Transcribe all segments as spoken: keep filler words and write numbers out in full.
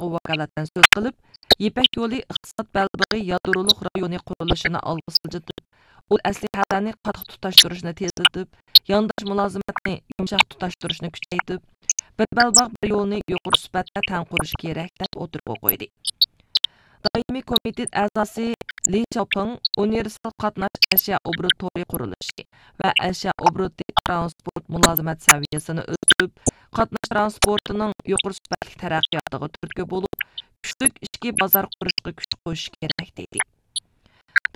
كومىتېتىغا ۋاكالىتەن سۆز قىلىپ، يىپەك يولى ئىقتىساد بەلبېغى يادرولۇق رايونى قۇرۇلۇشىنى ئالغا سىلجىتىپ، ئۇل ئەسلىھەلەرنى قاتتىق تۇتاشتۇرۇشنى تېزلىتىپ، يانداش مۇلازىمەتنى يۇمشاق تۇتاشتۇرۇشنى كۈچەيتىپ، بىر بەلباغ بىر يولنى يۇقىرى سۈپەتتە تەڭ قۇرۇش كېرەك، دەپ ئوتتۇرىغا قويدى. دائىمىي كومىتېت ئەزاسى لى شياۋپىڭ ئۇنىۋېرسال قاتناش ئەشيا ئوبوروت تورى قۇرۇلۇشى ۋە ئەشيا ئوبوروتى ترانسپورت مۇلازىمەت سەۋىيەسىنى ئۆستۈرۈپ، قاتناش تىرانسپورتىنىڭ يۇقىرى سۈپەتلىك تەرەققىياتىغا تۈرتكە بولۇپ، كۈچلۈك ئىچكى بازار قۇرۇشقا كۈچ قوشۇش كېرەك، دېدى.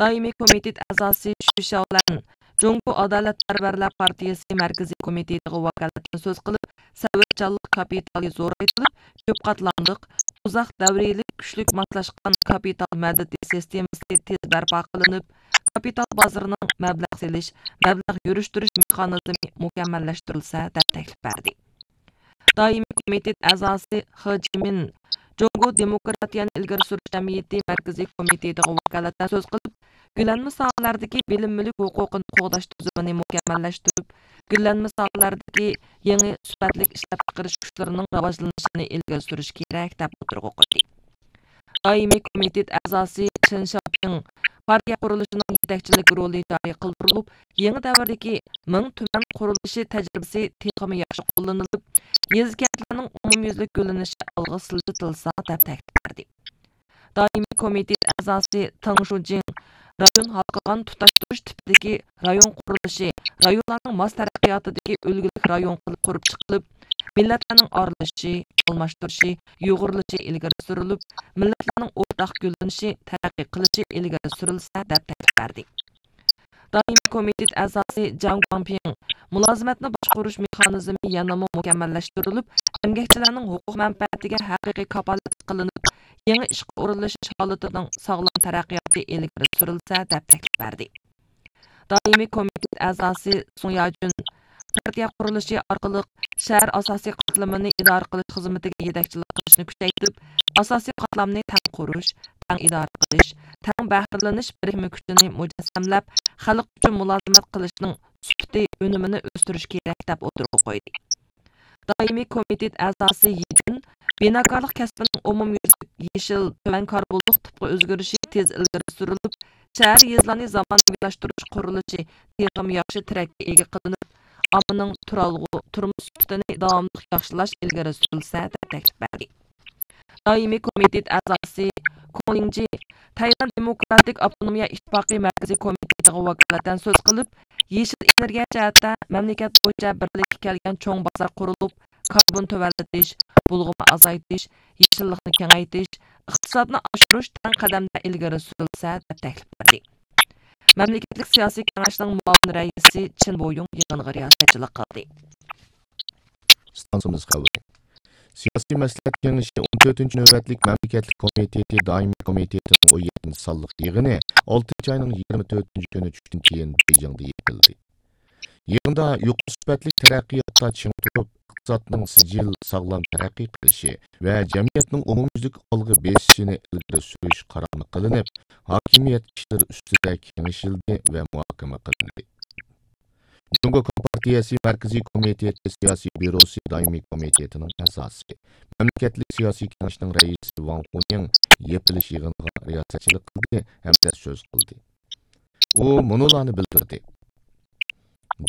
دائىمىي كومىتېت ئەزاسى شۈ شياۋلەن جۇڭگو ئادالەتپەرۋەرلەر پارتىيىسى مەركىزىي كومىتېتىغا ۋاكالىتەن سۆز قىلىپ، سەۋرچانلىق كاپىتالى زورايتىلىپ، كۆپ قاتلاملىق، ئۇزاق دەۋرىيلىك، كۈچلۈك ماسلاشقان كاپىتال مەدىتى سىستېمىسى تېز بەرپا قىلىنىپ، كاپىتال بازىرىنىڭ مەبلەغ سېلىش، مەبلەغ يۈرۈشتۈرۈش مېخانىزمى مۇكەممەللەشتۈرۈلسە، دەپ تەكلىپ بەردى. دائىمىي كومىتېت ئەزاسى خې جىمىن جۇڭگو دېموكراتىيەنى ئىلگىرى سۈرۈش جەمئىيىتى مەركىزىي كومىتېتىغا ۋاكالىتەن سۆز قىلىپ، گۈللەنمە ساھەلەردىكى بىلىم مۈلۈك ھوقۇقىنى قوغداش تۈزۈمىنى مۇكەممەللەشتۈرۈپ، گۈللەنمە ساھەلەردىكى يېڭى سۈپەتلىك ئىشلەپچىقىرىش كۈچلىرىنىڭ راۋاجلىنىشىنى ئىلگىرى سۈرۈش كېرەك، دەپ ئوتتۇرىغا قويدى. دائىمىي كومىتېت ئەزاسى چېن شياۋپىڭ پارتىيە قۇرۇلۇشىنىڭ يېتەكچىلىك رولى جارى قىلدۇرۇلۇپ، يېڭى دەۋردىكى مىڭ تۈمەن قۇرۇلۇشى تەجرىبىسى تېخىمۇ ياخشى قوللىنىلىپ، يېزا، كەنتلەرنىڭ ئومۇميۈزلۈك گۈللىنىشى ئالغا سىلجىتىلسا، دەپ تەكىتلەپ بەردى. دائىمىي كومىتېت ئەزاسى تېڭ شۇجىڭ رايون ھالقىغان تۇتاشتۇرۇش تىپىدىكى رايون قۇرۇلۇشى، رايونلارنىڭ ماس تەرەققىياتىدىكى ئۈلگىلىك رايون قىلىپ قۇرۇپ چىقىلىپ، مىللەتلەرنىڭ ئارىلىشىشى، ئالماشتۇرۇشى، يۇغۇرۇلۇشى ئىلگىرى سۈرۈلۈپ، مىللەتلەرنىڭ ئورتاق گۈللىنىشى، تەرەققىي قىلىشى ئىلگىرى سۈرۈلسە، دەپ تەكىتلەپ بەردى. دائىمىي كومىتېت ئەزاسى جاڭ گۇاڭپىڭ مۇلازىمەتنى باشقۇرۇش مېخانىزمى يەنىمۇ مۇكەممەللەشتۈرۈلۈپ، ئەمگەكچىلەرنىڭ ھوقۇق مەنپەئەتىگە ھەقىقىي كاپالەتلىك قىلىنىپ، يېڭى ئىشقا ئورۇنلىشىش ھالىتىنىڭ ساغلام تەرەققىياتى ئىلگىرى سۈرۈلسە، دەپ تەكلىپ بەردى. دائىمىي كومىتېت ئەزاسى سۇڭ ياجۈن پارتىيە قۇرۇلۇشى ئارقىلىق شەھەر ئاساسىي قاتلىمىنى ئىدارە قىلىش خىزمىتىگە يېتەكچىلىك قىلىشنى كۈچەيتىپ، ئاساسىي قاتلامنى تەڭ قۇرۇش، تەڭ ئىدارە قىلىش، تەڭ بەھرىلىنىش بىرىكمە كۈچىنى مۇجەسسەملەپ، خەلق ئۈچۈن مۇلازىمەت قىلىشنىڭ سۈپىتى، ئۈنۈمىنى ئۆستۈرۈش كېرەك، دەپ ئوتتۇرىغا قويدى. دائىمىي كومىتېت ئەزاسى يىجىن بىناكارلىق كەسپىنىڭ ئومۇميۈزلۈك يېشىل، تۆۋەن كاربونلۇق تىپقا ئۆزگىرىشى تېز ئىلگىرى سۈرۈلۈپ، شەھەر، يېزىلارنى زامانىۋىلاشتۇرۇش قۇرۇلۇشى تېخىمۇ ياخشى تىرەككە ئىگە قىلىنىپ، ئاممىنىڭ تۇرالغۇ تۇرمۇش سۈپىتىنى داۋاملىق ياخشىلاش ئىلگىرى سۈرۈلسە، دەپ تەكلىپ بەردى. دائىمىي كومىتېت ئەزاسى كوڭ لىڭجى تەيۋەن دېموكراتىك ئاپتونومىيە ئىتتىپاقى مەركىزىي كومىتېتىغا ۋاكالىتەن سۆز قىلىپ، يېشىل ئېنېرگىيە جەھەتتە مەملىكەت بويىچە بىرلىككە كەلگەن چوڭ بازار قۇرۇلۇپ، كاربون تۆۋەنلىتىش، بۇلغىما ئازايتىش، يېشىللىقنى كېڭەيتىش، ئىقتىسادنى ئاشۇرۇش تەڭ قەدەمدە ئىلگىرى سۈرۈلسە، دەپ تەكلىپ بەردى. مەملىكەتلىك سىياسىي كېڭەشنىڭ مۇئاۋىن رەئىسى چېن بويۇڭ يىغىنغا رىياسەتچىلىك قىلدى. ئىستانسىمىز خەۋىرى. سىياسىي مەسلىھەت كېڭىشى ئون تۆتىنچى نۆۋەتلىك مەملىكەتلىك كومىتېتى دائىمىي كومىتېتىنىڭ ئون يەتتىنچى سانلىق يىغىنى ئالتىنچى ئاينىڭ يىگىرمە تۆتىنچى كۈنى چۈشتىن كېيىن بېيجىڭدا يېپىلدى. يىغىندا يۇقىرى سۈپەتلىك تەرەققىياتتا چىڭ تۇرۇپ، ئىقتىسادنىڭ سىجىل، ساغلام تەرەققىي قىلىشى ۋە جەمئىيەتنىڭ ئومۇميۈزلۈك ئالغا بېسىشىنى ئىلگىرى سۈرۈش قارارى قىلىنىپ، ھاكىمىيەت ئىشلىرى ئۈستىدە كېڭىشىلدى ۋە مۇھاكىمە قىلىندى. جۇڭگو كومپارتىيەسى مەركىزىي كومىتېتى سىياسىي بيۇروسى دائىمىي كومىتېتىنىڭ ئەزاسى، مەملىكەتلىك سىياسىي كېڭەشنىڭ رەئىسى ۋاڭ خۇنىڭ يېپىلىش يىغىنىغا رىياسەتچىلىك قىلدى ھەمدە سۆز قىلدى. ئۇ مۇنۇلارنى بىلدۈردى: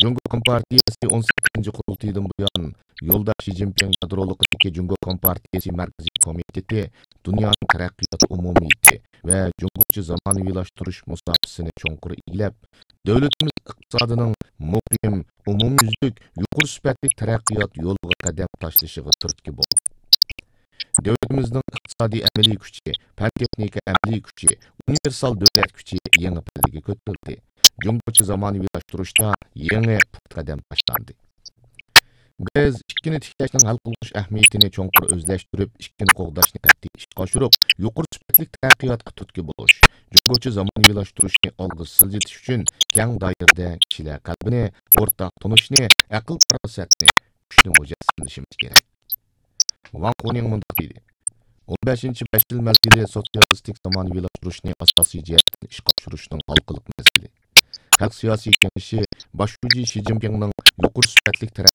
جۇڭگو كومپارتىيەسى ئون سەككىزىنچى قۇرۇلتىيىدىن بۇيان، يولداش شى جىنپىڭ يادرولۇقىدىكى جۇڭگو كومپارتىيەسى مەركىزىي كومىتېتى دۇنيانىڭ تەرەققىيات ئومۇمىيىتى ۋە جۇڭگوچە زامانىۋىلاشتۇرۇش مۇساپىسىنى چوڭقۇر ئىگىلەپ، دۆلىتىمىز ئىقتىسادىنىڭ مۇقىم، ئومۇميۈزلۈك، يۇقىرى سۈپەتلىك تەرەققىيات يولىغا قەدەم تاشلىشىغا تۈرتكە بولدى. دۆلىتىمىزنىڭ ئىقتىسادىي ئەمەلىي كۈچى، پەن تېخنىكا ئەمەلىي كۈچى، ئۇنىۋېرسال دۆلەت كۈچى يېڭى پەللىگە كۆتۈرۈلدى. جۇڭگوچە زامانىۋىلاشتۇرۇشتا يېڭى پۇختا قەدەم باشلاندى. بىز ئىككىنى تىكلەشنىڭ ھەل قىلغۇچ ئەھمىيىتىنى چوڭقۇر ئۆزلەشتۈرۈپ، ئىككىنى قوغداشنى قەتئىي ئىشقا ئاشۇرۇپ، يۇقىرى سۈپەتلىك تەرەققىياتقا تۈرتكە بولۇش، جۇڭگوچە زامانىۋىلاشتۇرۇشنى ئالغا سىلجىتىش ئۈچۈن كەڭ دائىرىدە كىشىلەر قەلبىنى، ئورتاق تونۇشنى، ئەقىل پاراسەتنى، كۈچنى مۇجەسسەملىشىمىز كېرەك. ۋاڭ خۇنىڭ مۇنداق دېدى: ئون بەشىنچى بەش يىل مەزگىلى سوتسىيالىستىك زامانىۋىلاشتۇرۇشنى ئاساسىي جەھەتتىن ئىشقا ئاشۇرۇشنىڭ ھالقىلىق مەزگىلى. خەلق سىياسىي كېڭىشى باش شۇجى شى جىنپىڭنىڭ يۇقىرى سۈپەتلىك تەرەققىيات